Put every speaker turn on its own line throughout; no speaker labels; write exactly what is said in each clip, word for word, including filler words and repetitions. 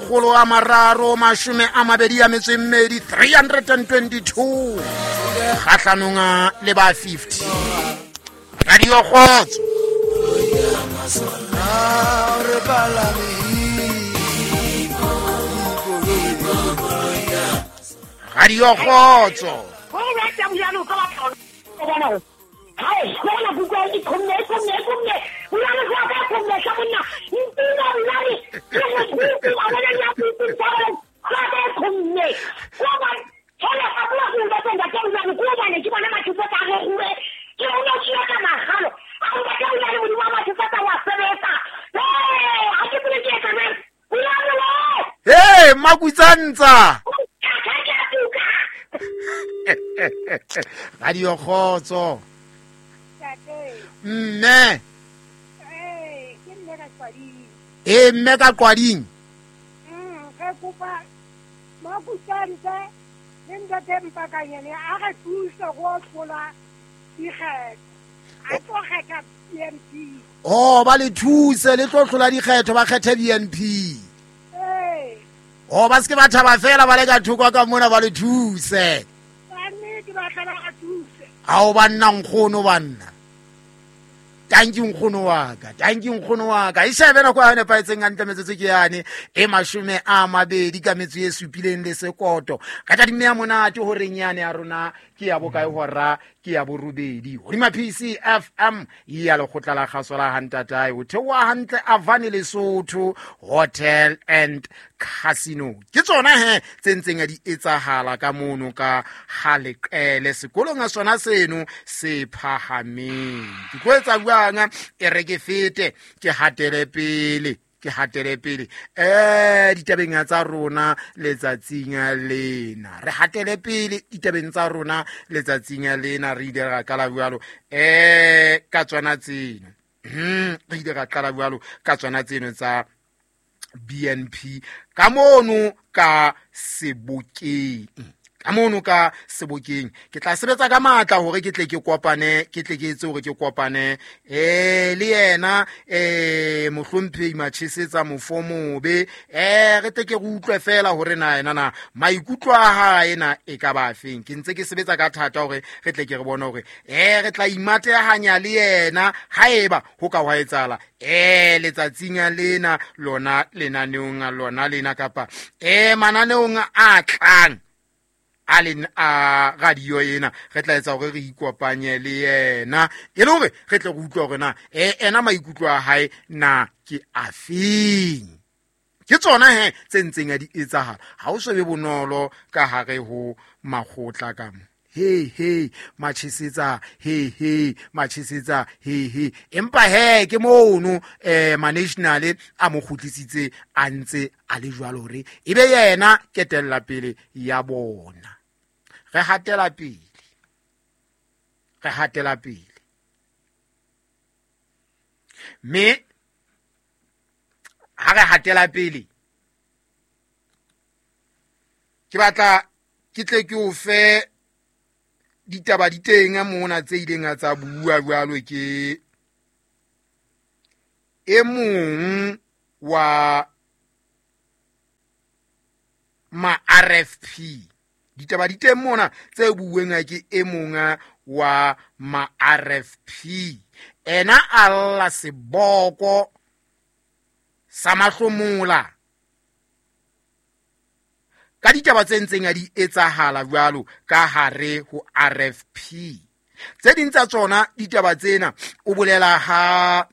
makgolo a mararo mashome a mabedi a metso e mmedi three twenty-two kgahlanong le ba fifty. Radio Kgotso. Radio Kgotso. Hey, Makutsantsa. Radio Kgotso. Mme.
Eh, ke mme ka Qwading.
Eh, mme ka Qwading.
Mm, re kopa Makutsantsa le ntate Mpakanyane a re thuse go hlola dikgetho. A tlo kgetha B N P.
Oh, ba le thuse le tlo hlola dikgetho ba kgethe B N P.
Eh.
Oh, ba se ke ba thaba fela ba le ka thoko ka mona ba le thuse.
Ba nnete ba tla ba thuse.
Ao banna nkgono banna. Tanki nkgono wa ka, tanki nkgono wa ka. E shebe nako ya nepahetseng hantle metsotso ke yane e mashome a mabedi ka metso e supileng le sekoto. Ka tadimo ya monate horeng yane ya rona ke ya bokae hora ke ya borobedi. Hodima P C F M ya lekgotla la kgaso la Hantatae o theoha hantle Avani Lesotho Hotel and Casino. Ke tsona he tse ntseng di etsahala ka mono ka Haleqele sekolong a sona seno se phahameng. Ke tlo etsa jwang e re ke fete ke hatele pele ke hatele pele eh ditabeng tsa rona letsatsing lena re hatele pele ditabeng tsa rona letsatsing lena re ile ra qala jwalo eh ka tsona tseno hm re ile ra qala jwalo ka tsona tseno tsa B N P ka mono ka Sebokeng ka mono ka Sebokeng ke tla sebetsa ka matla hore ke tle ke kopane ke tle ke etse hore ke kopane eh le yena eh mohlomphehi Machesetsa Mofomobe eh re tle ke re utlwe fela hore na yena na maikutlo a hae na e ka ba feng. Ke ntse ke sebetsa ka thata hore re tle ke re bone hore eh re tla imatehanya le yena haeba ho ka hwa etsahala eh letsatsing lena lona lenaneong lona lena kapa eh mananeong a tlang a leng a radio ena re tla etsa hore re ikopanye le yena e le hore re tle re utlwe hore na eh ena maikutlo a hae na ke afeng. Ke tsona he tse ntseng di etsahala ha o so be bonolo ka hare ho makgotla ka mo. He he Machesetsa he he Machesetsa he he empa he ke mono eh ma-national a mo kgutlisitse a ntse a le jwalo hore ebe yena ketella pele ya bona. Re hatela pele re hatela pele mme ha re hatela pele ke batla ke tle ke o fe ditaba di teng mona tse ileng tsa bua jwalo ke e mong wa ma R F P. Ditaba di teng mona tse bueng ke e mong wa ma R F P. Ena a lla seboko sa mahlomola ka ditaba tse ntseng di etsahala jwalo ka hare ho R F P. Tse ding tsa tsona ditaba tsena o bolela ha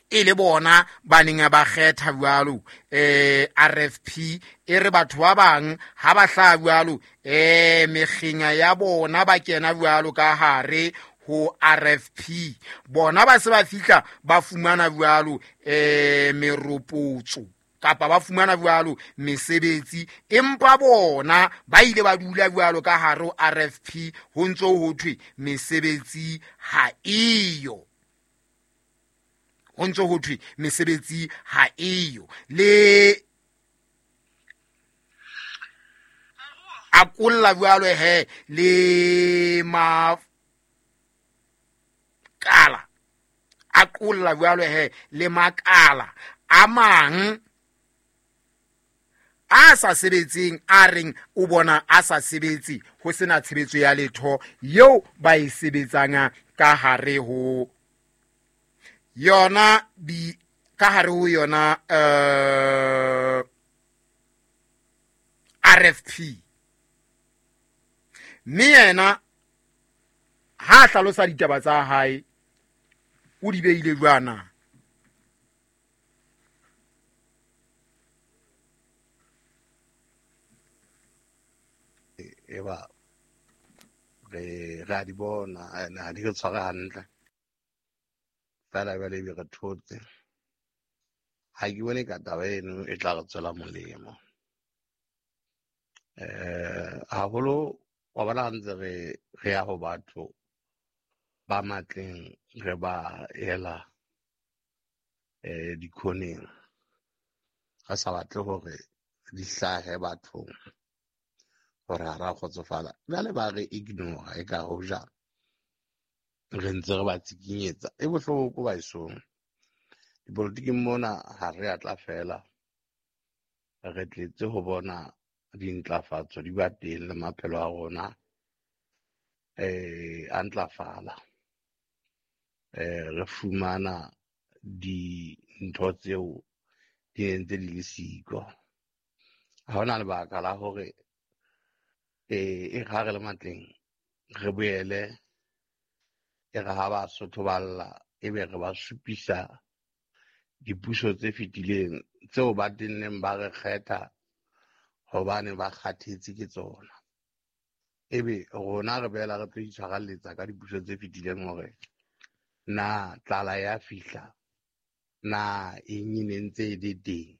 e le bona ba neng ba kgetha jwalo eh R F P e re batho ba bang ha ba hla jwalo eh mekgenya ya bona ba kena jwalo ka hare ho R F P bona ba se ba fihla ba fumana jwalo eh meropotso kapa ba fumana jwalo mesebetsi empa bona ba ile ba dula jwalo ka hare ho R F P ho ntso ho thwe mesebetsi ha eyo ho ntso ho thwe mesebetsi ha eyo le akolla jwalo he le ma kala akolla jwalo he le makala a mang a sa sebetseng a reng o bona a sa sebetse ho sena tshebetso ya letho eo ba e sebetsang ka hare ho yona bi ka hare ho yona uh, R F P. Mme yena ha hlalosa ditaba tsa hae o di beile jwana.
Eba re ra di bona na di re tshware hantle fela jwale ebe re thotse. Ha ke bone ka taba eno e tla re tswela molemo. Eh haholo wa bona ha ntse re re ya ho batho ba matleng re ba ela eh dikhoneng, re sa batle hore di hlahe bathong hore ha ra kgotsofala. Jwale ba re ignore e ka hoja re ntse re ba tsikinyetsa. E bohloko baesong. Dipolotiking mona ha re a tla fela, re tletse ho bona dintlafatso di ba teng le maphelo a rona eh a ntlafala. Eh re fumana dintho tseo di ntse di le siko. Ha hona lebaka la hore eh e re ha re le matleng re boele e re ha ba Sotho ba lla ebe re ba supisa dipuso tse fetileng tseo ba tenneng ba re kgetha hobane ba kgathetse ke tsona. Ebe rona re boela re tlo itshwarelletsa ka dipuso tse fetileng hore na tlala ya fihla na eng e ne ntse e le teng.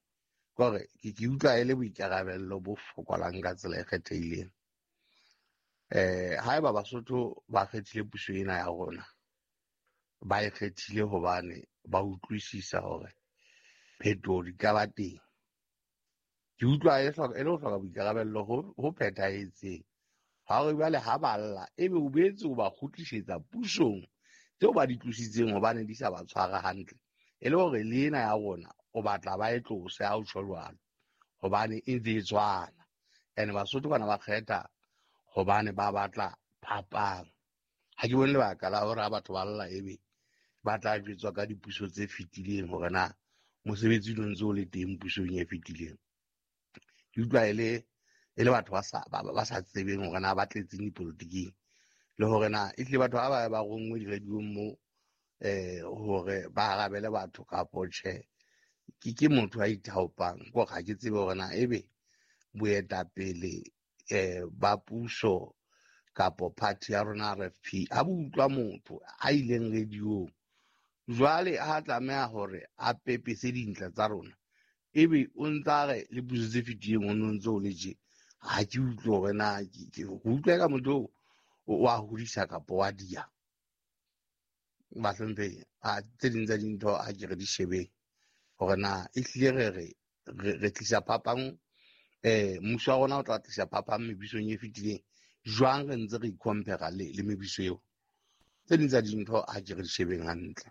Kore ke ke utlwa e le boikarabello bo fokolang ka tsela e kgethehileng. Eh haeba Basotho ba kgethile puso ena ya rona, ba e kgethile hobane ba utlwisisa hore phetoho di ka ba teng. Ke utlwa e hloka e le ho hloka boikarabello ho ho phethahetseng. Ha re jwale ha ba lla ebe o boetse o ba kgutlisetsa pusong tseo ba di tlositseng hobane di sa ba tshwara hantle. E le hore le ena ya rona o batla ba e tlose ha o tjho jwalo hobane e ntse e tshwana. Ene Basotho bana ba kgetha hobane ba batla phapang. Ha ke bone lebaka la hore ha batho ba lla ebe ba tla jwetswa ka dipuso tse fetileng hore na mosebetsi o ntse o le teng pusong e fetileng. Ke utlwa e le e le batho ba sa ba sa tsebeng hore na ba tletseng dipolotiking le hore na ehlile batho ba ba ba ronngwe di-radio-ng mo eh hore ba arabele batho kapo tjhe. Ke ke motho a ithaopang kore ha ke tsebe hore na ebe boetapele eh ba puso kapo party ya rona R F P ha bo utlwa motho a ileng radio-ng jwale ha tlameha hore a pepese dintle tsa rona ebe o ntsa re le puso tse fetileng o no ntse o le tje. Ha ke utlwe hore na ke utlwe ka motho o wa hodisa kapo wa dia. Bahlomphehi, a tse ding tsa dintho ha ke re di shebeng hore na ehlile re re re tlisa phapang eh mmuso wa rona o tla tlisa phapang mebusong e fetileng jwang re ntse re i-compare le le mebuso eo. Tse ding tsa dintho ha ke re di shebeng hantle.